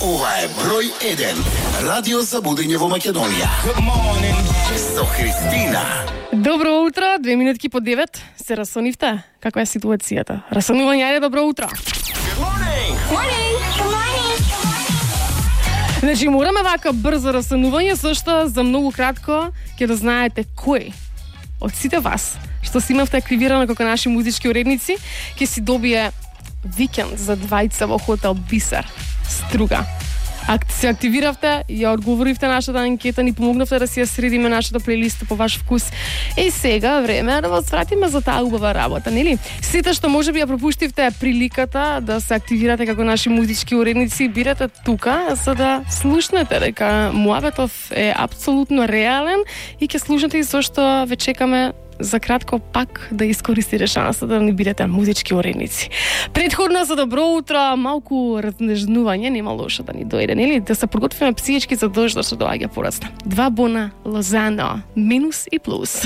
Ова е број 1 радио за будење во Македонија. Со Христина. Добро утро, 2 минутки по 9. Се расонивте? Каква е ситуацијата? Расонување е добро утро. Значи, мораме вака брзо расонување, зашто за многу кратко ќе да знаете кој од сите вас што си имавте активирано како наши музички уредници, ќе си добие викенд за двајца во хотел Бисер, Струга. Ако се активиравте, ја одговоривте нашата анкета, ни помогнавте да си ја средиме нашата плейлиста по ваш вкус. И сега време е да вас вратиме за таа убава работа, нели? Сите што можеби ја пропуштивте приликата да се активирате како наши музички уредници, бидете тука за да слушнете дека муабетов е апсолутно реален и ќе слушнете и зашто ве чекаме за кратко пак да искористите шансата да не бидете музички уредници. Предходно за добро утро, малку разнежнување нема лошо да ни дојде, нели? Да се подготвиме психички за дождот што доаѓа порасна. 2 бона Лозано, минус и плюс.